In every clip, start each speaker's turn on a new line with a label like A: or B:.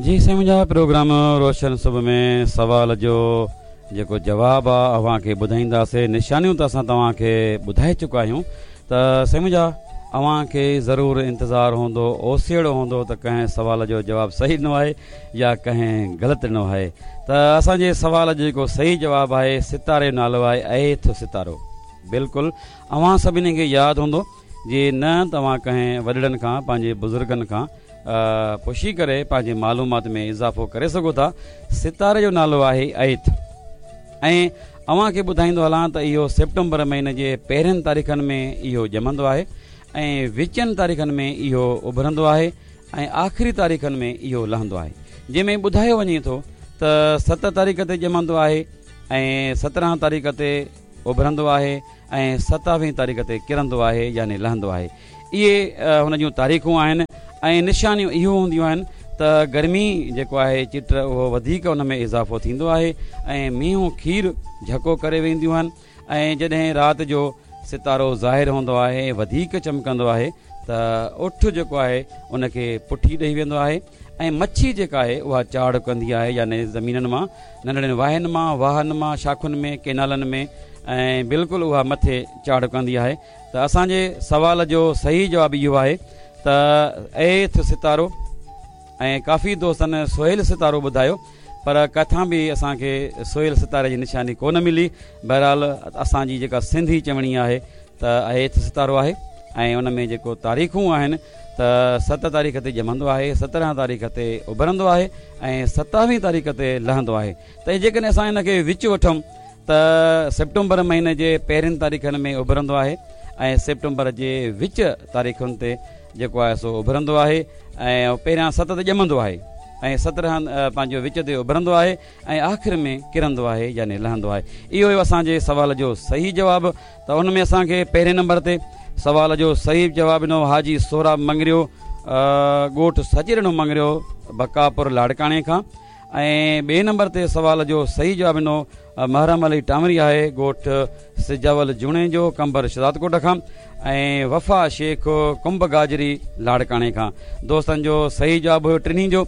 A: جي سائين منهنجا پروگرام روشن صبح ۾ سوال جو جيڪو جواب آ اوهان کي ٻڌائينداسي نشانيون ته اسان توهان کي ٻڌائي چڪا آهيون ته سائين منهنجا اوهان کي ضرور انتظار هوندو اوسيئڙو هوندو ته ڪنهن سوال جو جواب صحيح ڏنو آهي يا ڪنهن غلط ڏنو آهي ته اسان جي سوال جو جيڪو صحيح جواب آهي ستاري جو نالو آهي ايٿ ستارو بلڪل اوهان سڀني کي ياد هوندو جي نه توهان ڪنهن وڏڙن کان پنهنجي بزرگن کان پڇي ڪري پنهنجي معلومات ۾ اضافو ڪري سگهو ٿا ستاري جو نالو آهي ايٿ ۽ اوهان کي ٻڌائيندو هلان ته اهو سيپٽمبر مهيني جي پهرين تاريخن ۾ اهو ڄمندو آهي ۽ وچين تاريخن ۾ اهو اڀرندو آهي ۽ آخري تاريخن ۾ اهو لهندو آهي جنهن ۾ ٻڌايو وڃي ٿو ته 7 تاريخ تي ڄمندو آهي ۽ 17 تاريخ تي اڀرندو آهي ۽ ستاويهين تاريخ تي ڪرندو آهي يعني لهندو آهي. اهي هن جون تاريخون آهن ۽ نشانيون اهو هونديون آهن ته گرمي جيڪو آهي چٽ اهو وڌيڪ ان ۾ اضافو ٿيندو آهي ۽ مينهون کير جهڪو ڪري وينديون آهن ۽ جڏهن رات جو ستارو ظاهر هوندو آهي وڌيڪ چمڪندو آهي ته اٺ جيڪو آهي ان کي پٺي ڏئي ويندو آهي ۽ مڇي جيڪا آهي اها چاڙهه ڪندي آهي يعني زمينن مان ننڍڙين واهن مان، واهن مان، شاخن ۾، ڪينالن ۾ ۽ بلڪل اها مٿي چاڙهه ڪندي آهي ته اسان جي سوال جو صحيح جواب اهو آهي ته ايٿ ستارو ۽ ڪافي دوستن سهيل ستارو ٻڌايو پر ڪٿان به اسان کي سهيل ستاري جي نشاني ڪونه ملي بهرحال اسان جي جيڪا سنڌي چوڻي آهي ته ايٿ ستارو آهي ۽ ان ۾ جيڪو تاريخون آهن ته 7 تاريخ تي ڄمندو آهي، 17 تاريخ تي اڀرندو آهي ۽ ستاويهين تاريخ تي لهندو آهي ته جيڪڏهن اسان ان کي وچ وٺون ته سيپٽمبر مهيني جي پهرين تاريخن ۾ اڀرندو آهي ۽ سيپٽمبر جي وچ تاريخن تي جيڪو آهي سو اڀرندو آهي ۽ پهريان 7 تي ڄمندو آهي ۽ 17 پنهنجو وچ تي اڀرندو آهي ۽ آخر ۾ ڪرندو آهي يعني لهندو آهي. اهو هيو اسان جي سوال جو صحيح جواب ته ان ۾ اسان کي پهرين نمبر تي سوال جو صحيح جواب ڏنو حاجي سهراب مڱريو ڳوٺ سچيڏنو مڱريو بقاپور لاڙڪاڻي کان ۽ ٻئي نمبر تي سوال جو صحيح جواب ڏنو محرم علي ٽانوري آهي ڳوٺ سجاول جوڻيجو قمبر شهدادڪوٽ کان ۽ وفا شيخ ڪنب گاجري لاڙڪاڻي کان دوستن جو صحيح جواب هيو ٽنهي جو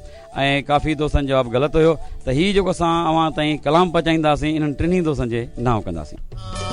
A: ۽ ڪافي دوستن جواب غلط هيو ته هي جيڪو اسان اوهان تائين ڪلام پهچائينداسين انهن ٽنهي دوستن جي نانء ڪنداسين.